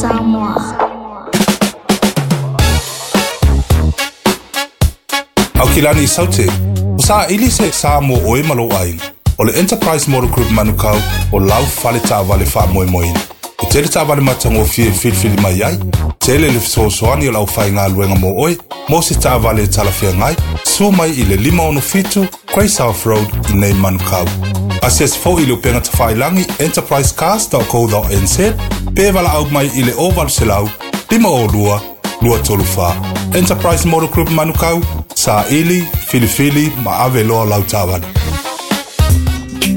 Samoa. Aukilani i Saute, o saili se sa mo oe ma lou aiga. O le Enterprise Motor Group Manukau o lau fale taavale faamoemoeina. E tele taavale matagofie e filifili mai ai, tele le fesoasoani o le aufaigaluega mo oe, mo se taavale e talafeagai, sua mai i le 567 Grey South Road i nei Manukau. Asiasi foi i le upega tafailagi enterprisecars.co.nz pe valaau mai i le 0800 502 234. Enterprise Motor Group Manukau, saili, filifili ma ave loa lau taavale.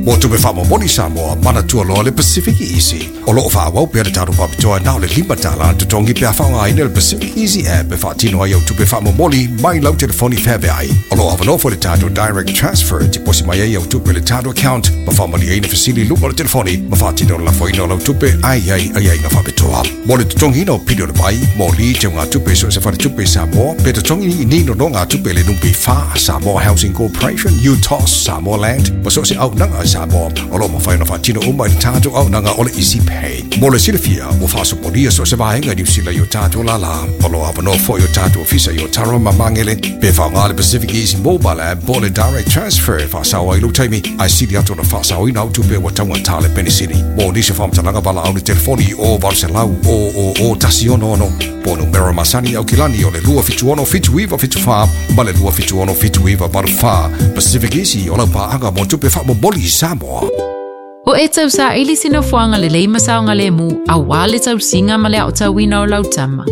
Mo tupe faamomoli Samoa, manatua loa le Pacific Easy. O loo faaauau pea le tatou faapitoa na o le $5 totogi pe a faaaogaina le Pacific Easy app e faatino ai au tupe faamomoli mai lau telefoni feaveai. O loo avanoa foi le tatou direct transfer e tiposi mai ai au tupe i le tatou account ma faamalieina fesili i luga o le telefoni ma faatino le lafoina o lau tupe ae i ai aiaiga faapitoa. Mo le totogiina o pili o le vai, moli, teugatupe i so o se faletupe i Samoa, pe totogi ni nonogatupe i le NPF, Samoa Housing Corporation, UTOS, Samoa Land, ma so o se auaunaga a Samoa, o lo o mafai ona faatino uma i le tatou auaunaga o le Easy Pay. Mo le silafia, ua faasopolia so o se vaega i Niu Sila i o tatou lālā. O lo o avanoa foi o tatou ofisa i Otaru ma Magele, pe faaaoga le Pacific Easy Mobile App po o le Direct Transfer e faasao ai lou taimi, ae sili atu ona faasaoina au tupe ua taugata le penisini. Mo nisi o faamatalaga valaau i le telefoni o 800 000 166 po o numera masani i Aukilani o le 276 7974 ma le 276 7984. Pacific Easy o lau paaga mo tupe faamomoli i Samoa. O e tausaili se nofoaga lelei ma saogalemu aua le tausiga ma le aotauina o lau tama.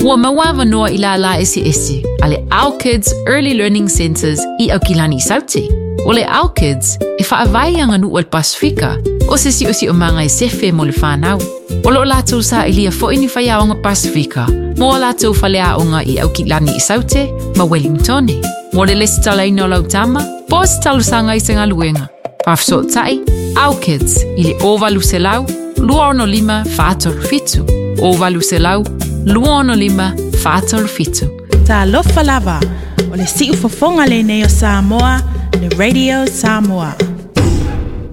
Ua maua avanoa i lālā eseese a le Our Kids Early Learning Centres i Aukilani i Saute. O le Our Kids e faavae i aganuu a le Pasefika, o se siosiomaga e sefe mo le fanau. O lo o latou sailia foi ni faiaoga Pasefika mo a latou faleaoga i Aukilani i Saute ma Wellingtone. Mo le lesitalaina o lau tama, po o se talosaga i se galuega. Faafesootai, Our Kids i le 0800 265 437, 0800 265 437. Talofa lava, o le siufofoga lenei o Samoa, le Radio Samoa.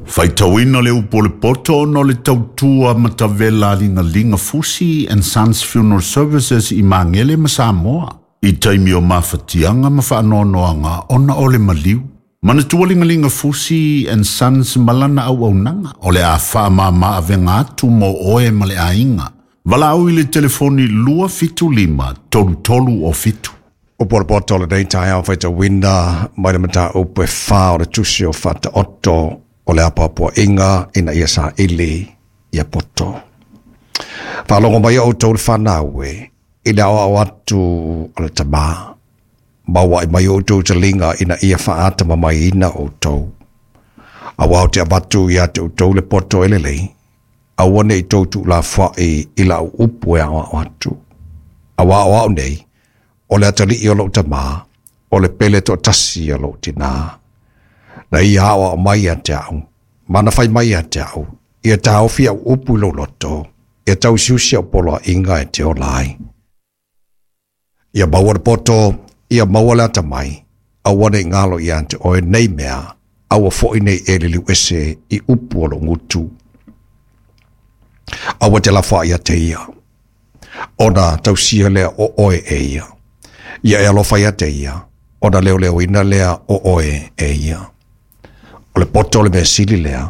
Faitauina le upu o le poto ona o le tautua matavela a Ligaliga Fusi and Sons Funeral Services i Magele ma Samoa, i taimi o mafatiaga ma faanoanoaga ona o le maliu. Manatua Ligaliga Fusi and Sons ma lana auaunaga, o le a faamama avega atu mo oe ma le aiga. Valaau i le telefoni 275 3307. Upu o le poto o lenei taeao faitauina mai le mataupu e 4 o le tusi o Faataoto o le apoapoaiga ina ia saili ia poto. Faalogo mai outou le fanau e i le aoao atu a le tamā. Maua ai mai outou taliga ina ia faatamamaiina outou. Aua ou te avatu ia te outou le poto e lelei, aua ne i tou tuulafoai i lau upu e aoao atu. Aua o au nei, o le atalii o lou tamā, o le pele toatasi o lou tinā. Na ia aoao mai ia te au, ma na fai mai ia te au, ia taofi au upu i lou loto, ia tausiusi au poloaiga e te ola ai. Ia maua le poto, ia maua le atamai, aua ne i galo ia te oe nei mea, aua foi nei e liliu ese i upu o lou gutu. Aua te lafoai ia te ia, ona tausia lea o oe e ia. Ia e alofa ia te ia, ona leoleoina lea o oe e ia. O le poto o le mea sili lea,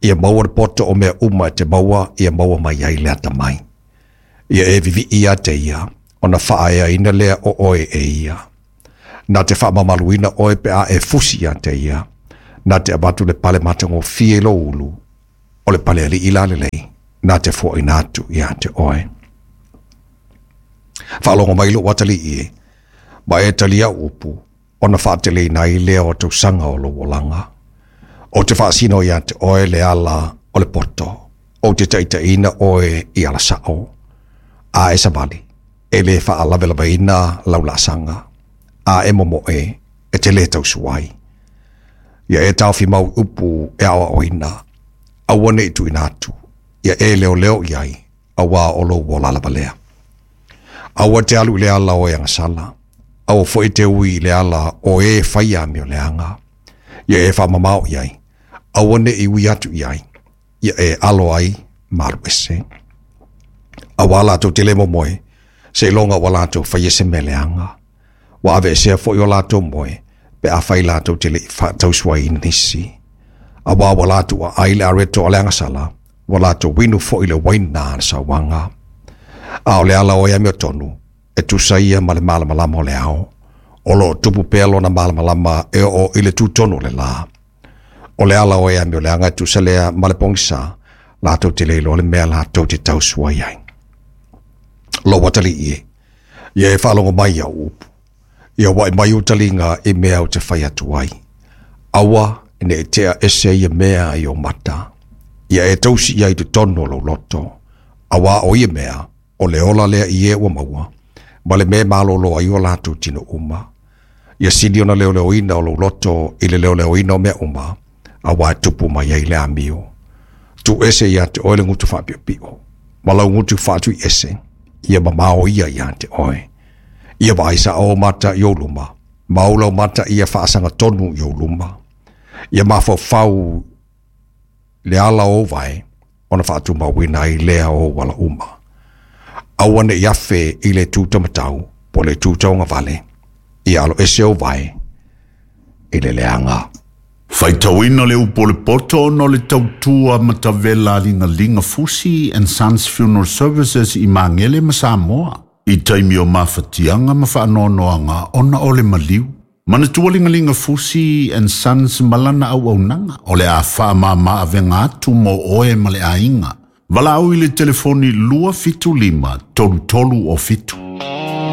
ia maua le poto o mea uma e te maua, ia maua mai ai le atamai. Ia e vivii ia te ia, ona faaeaina lea o oe e ia. Na te faamamaluina oe pe a e fusi ia te ia, na te avatu le pale matagofie i lou ulu, o le pale alii la lelei, na te foaina atu ia te oe. Faalogo mai lou atalii e, ma e talia au upu, ona faateleina ai lea o tausaga o lou olaga. Ou te faasino ia te oe le ala o le poto, ou te taitaiina oe i ala sao. A e savali, e le faalavelavaina lau laasaga, a e momoe, e te le tausuai. Ia e taofi mau i upu e aoaoina, aua ne i tuuina atu, ia e leoleo i ai, aua o lou ola lava lea. Aua te alu i le ala o e agasala, aua foi te ui i le ala o e faia amioleaga. Ia e faamamao i ai, aua ne i ui atu i ai, ia e alo ai ma alu ese. Auā latou te le momoe, seiloga ua latou faia se mea leaga. Ua aveesea foi o latou moe, pe afai latou te le i faatausuaina nisi. Auā ua latou aai i le areto a le agasala, ua latou inu foi i le uaina a le sauaga. A o le ala o e amiotonu, e tusa ia ma le malamalama o le ao, o lo o tupu pea lona malamalama e oo i le tutonu o le lā. O le ala o e amioleaga e tusa lea ma le pogisa, latou te le iloa le mea latou te tausuai ai. Lou atalii e, ia e faalogo mai i au upu, ia wa'i mai ou taliga i mea ou te fai atu ai. Aua ne i tea ese ia mea i ou mata, ia e tausi ia i totonu o lou loto, auā o ia mea, o le ola lea i e ua maua, ma le mea e malolo ai o latou tino uma. Ia sili ona leoleoina o lou loto i le leoleoina o mea uma, auā e tupu mai ai le amio. Tuu ese ia te oe le gutu faapiopio, ma lau gutu faatuiese, ia mamao ia ia te oe. Ia vaai sa'o ou mata i ou luma, ma ou laumata ia faasagatonu i ou luma. Ia mafaufau le ala o ou vae, ona faatumauina ai lea o ou ala uma. Aua ne i afe i le itu taumatau po o le itu tauagavale, ia aloese ou vae i le leaga. Faitauina le upu o le poto ona o le tautua matavela a Ligaliga Fusi and Sons Funeral Services i Magele ma Samoa i taimi o mafatiaga ma faanoanoaga ona o le maliu. Manatua Ligaliga Fusi and Sons ma lana auaunaga o le a faamama avega atu mo oe ma le aiga. Valaau i le telefoni 275 33 o 7.